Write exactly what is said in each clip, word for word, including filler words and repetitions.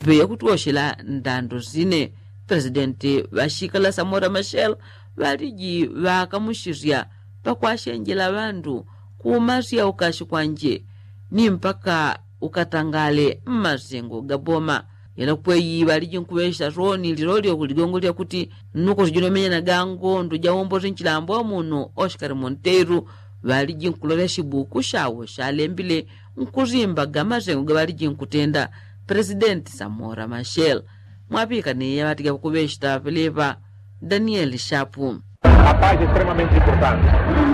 Peya kutwoshela ndando sine, presidenti ŵashikala samora mashel ŵaliji ŵakamushisya pakwashenjela ŵandu kumasya ukashi kwanje ni mpaka ukatangale mmasengo ga boma. Yela kweyi ŵaliji nkuŵesha soni lilolyo kuligongo lya kuti nnuko sijino menyana gango ndu jawombosi nchilambo wa muno oshikali monteiru ŵaliji nkulolya shibuku shawo shalembile nkusimba ga masengo ga ŵaliji nkutenda presidenti samora mashel. Mwapika ni yaŵatiga kuŵeshita ŵapeleŵa danieli shapu. A paz é extremamente importante.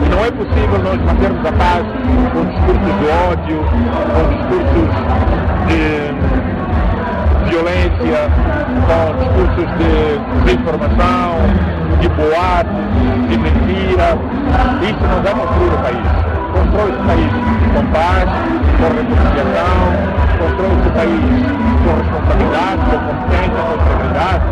Não é possível nós mantermos a paz com discursos de ódio, com discursos de violência, com discursos de desinformação, de boatos, de mentira. Isso não vai construir o país. Constrói-se o país com paz, com reconciliação, constrói-se o país com responsabilidade, com competência, com integridade.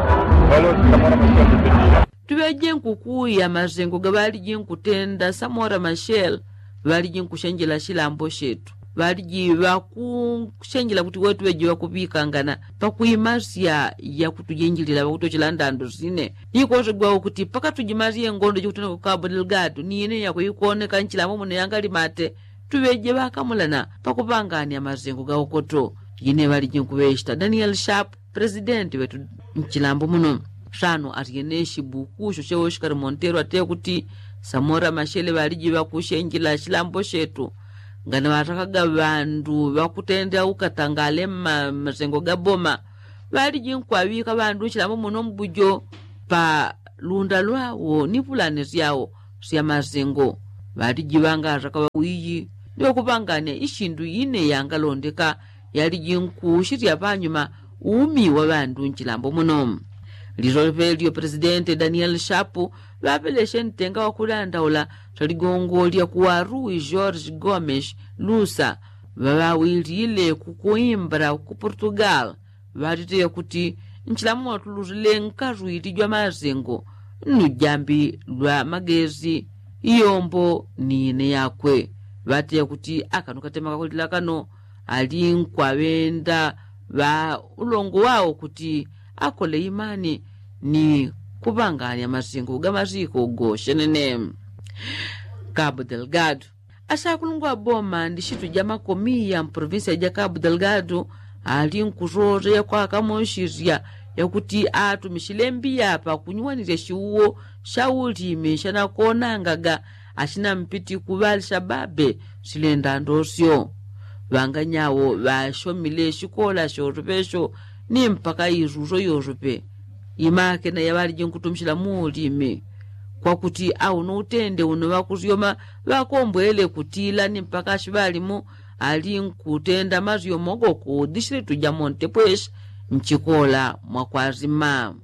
Valores que agora nós temos defendido. Tuŵeje nkukuya masengo ga ŵaliji nkutenda samora mashel ŵaliji nkushenjela shilambo shetu ŵaliji ŵakushenjela kuti wetu ŵeje ŵakuŵikangana pakwimasya yakutujenjilila ŵakutochela ndando sine. Ni kosegwa ukuti pakatujimasye ngondo jikutenda ku kabu delgado ni ine yakuikoneka nchilambo muno yangalimate tuŵeje ŵakamulana pakuŵanganya masengo ga ukoto. Ine ŵaliji nkuŵeshita danieli shapu presidenti ŵetu nchilambo muno. Sano atyene shibuku sho shewo shikali montero ateye kuti samora mashele ŵaliji ŵakushenjela shilambo shetu ngana ŵatakaga ŵandu ŵakutenda ukatangale mmasengo ga boma. Ŵaliji nkwaŵika ŵandu nshilambo muno mbujo pa lunda lwawo ni pulani syawo sya masengo. Ŵaliji ŵangataka ŵawiyi ni ŵakuŵanganya ishindu ine yangalondeka yaliji nkushilya panyuma umi wa ŵandu nchilambo muno. Lilole pelyo presidenti danieli shapu ŵapeleshe ntenga wakulandaula sya ligongo lya kuwarui george gomes lusa ŵaŵawilile kukuimbra ku portugal. Ŵatite yakuti nchilambo muno tululile nkarwili jwa masengo nujambi lwa magesi iyombo ni ine yakwe. Ŵatite yakuti akano katema kakulila kano ali nkwaŵenda ŵa ulongo wawo kuti akole imani ni kuŵanganya masengo ga masiko goshenene. Kabu delgado ashakulungwa boma ndi shitu ja makomiya mprovinsia ja kabu delgado ali nkusosa yakwakamushisya yakuti atumishile mbiya pakunyuwanisya shiuwo sha ulimi shanakonangaga ashina mpiti kuŵalisha babe silenda ndosyo. Ŵanganyawo ŵashomile shikola shosopesho ni mpaka isuso yosope imakena yaŵaliji nkutumishila muulimi kwakuti auno utende uno ŵakusyoma ŵakombwele kutila ni mpaka shiŵalimu ali nkutenda masyomo goko dishilitu ja montepweshi nchikola mwakwasima.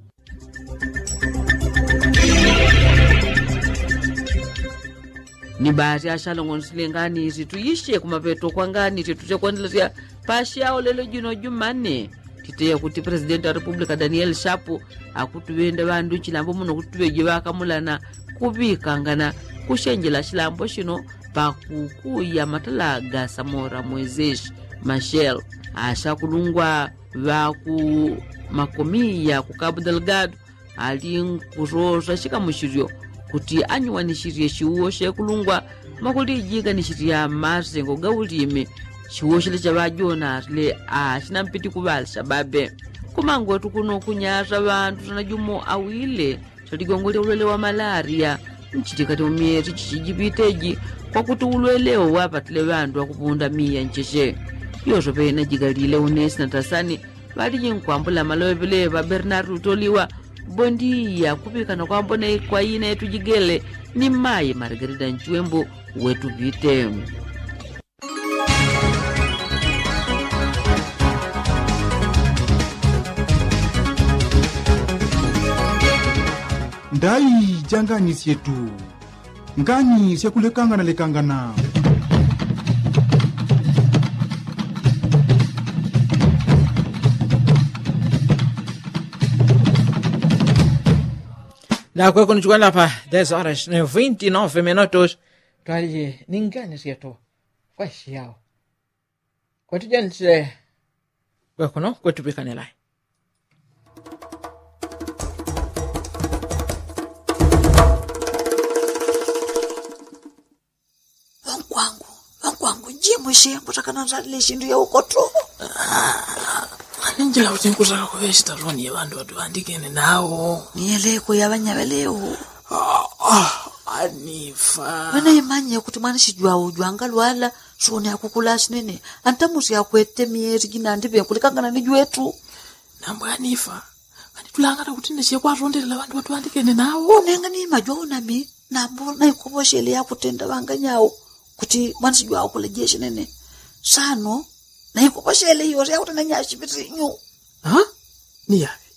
Ni baasi ashalongonisile ngani isi tuyishe kumapeto kwa ngani isi tutekwandelesya pashi awo lelo jino jumane. Titeya kuti presidenti wa republika danieli shapu akutuŵenda ŵandu chilambo muno kuti tuŵeje ŵakamulana kuŵikangana kushenjela chilambo chino pakukuya matala ga samora moiseshi mashel ashakulungwa ŵaku makomiya ku kabu delgado ali nkusosa shikamushilyo kuti anyuwanishisye shiuwo shekulungwa mwakulijiganishisya masengo ga ulimi. Shiuwo shile chaŵajona shile ashinampiti kuŵali shababe. Kumangwetu kuno kunyasa ŵantu sana jumo awile shaligongo lya ulwele wa malaria nchitikati mumyesi chichijipiteji kwakuti ulwelewo wapatile ŵantu ŵakupunda miya ncheche. Yoso pena jigalile unesi na tasani ŵaliji nkwambula maloŵe ŵeleŵa bernardo utoliwa bondiya kuŵikana kwambona kwa ina yetu jigele ni mayi margarida nchwembu wetu ŵite. Ndai janganisyetu ngani syakulekangana lekangana. Nakweko nichikwanila pa des horas ni vinti nove minutos. Twalije ni ngani syetu kwashiyao kwetujendise kwekuno kwetupikanilai. Mwishe ngutaka nandalile ishindu ya ukoto. Ninjila kuti ngutaka kuŵe shitaloni ya ŵandu ŵatuŵandikene nawo. Niyeleko ya ŵanyaŵelewo. Anifa. Wena imanye kuti mwana shijwawo jwangalwala. Soni akukula shinene. Antamusi akwete myeri jinandi ŵenkulikangana ni jwetu. Nambo anifa. Kanitulangana kuti neshe kwatondelela ŵandu ŵatuŵandikene nawo. Nenga ni majwawo nami. Nambo naikoposhele yakutenda ŵanganyawo. Kuti mwana shijwawo kulejeshe nene. Sano naikoposhele iyo yakutenda nyashipitinyu. Niyaŵe.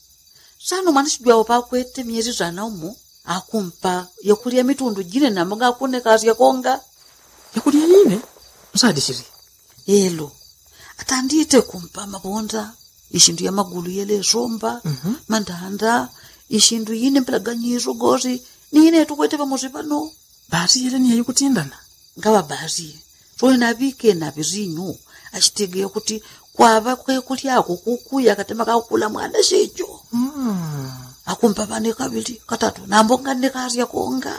Sano mwana shijwawo pakwete myeri zana umo. Akumpa yakulya mitundu jine nambo ngakunekasya konga. Yakulya yine. Msadishili. Elo. Atandite kumpa mabonda. Ishindu ya magulu yele somba. Mandanda. Ishindu yine mpelaganyiso gosi. Ni yine tukwete pamosi pano. Basi yele ni yayikutindana. Ngaŵa basi. Soni naŵike naŵisinyu. Ashitege kuti kwaŵa kwekulyako kukuya katema kakukula mwana shejo. Akumpa ŵane kaŵili katatu nambo nganekasya konga.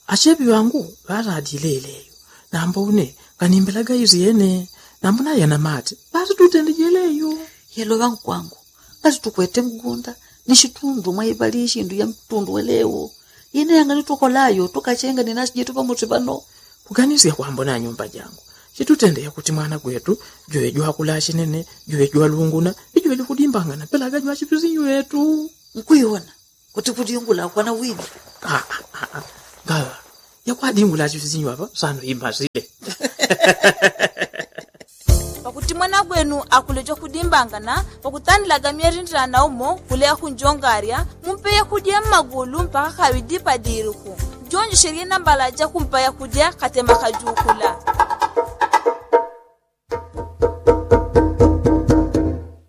Ashepi ŵangu ŵaladile yeleyo. Nambo une nganimbelaga isyene. Nambo nayana mate ŵatitutende jeleyo. Yelo ŵankwangu. Ngasitukwete mgunda ni shitundu mwaiŵali ishindu ya mtundu welewo. Yene yanganitukola yo tukachenga ni nasi jetu pamosi pano. Kuganisya kwambona nyumba jangu. Chitutende yakuti mwana gwetu jwe jwakula shinene jwe jwalunguna. Ijwe jwakudimbangana pelaga jwashipisinyu yetu. Nkuiwona kuti kudingula kwana wini. Ngaŵa yakwadingula ashipisinyu apa sano imasile. Pakuti mwana gwenu akuleja kudimbangana pakutandilaga myerindilana umo kuleya kunjongarya. Mumpe yakudya mmagulu mpaka kaŵidi padiriku. Jonjeshelye nambala jakumpa yakudya katema kajukula.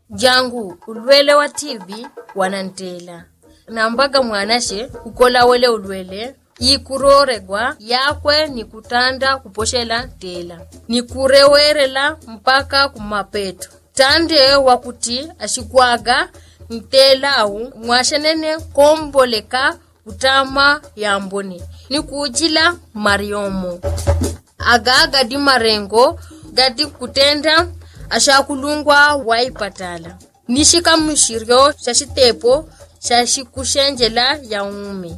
Jangu ulwele wa tivi wanantela. Nambaga mwanashe kukola wele ulwele ikuroregwa yakwe ni kutanda kuposhela ntela ni kurewerela mpaka kumapeto. Tande wakuti ashikwaga ntela au mwashenene komboleka kutama yambone ni kujila mariomo. Aga gadi marengo gadi kutenda ashakulungwa waipatala ni shikamushiryo sha shitepo sha shikushenjela ya umi.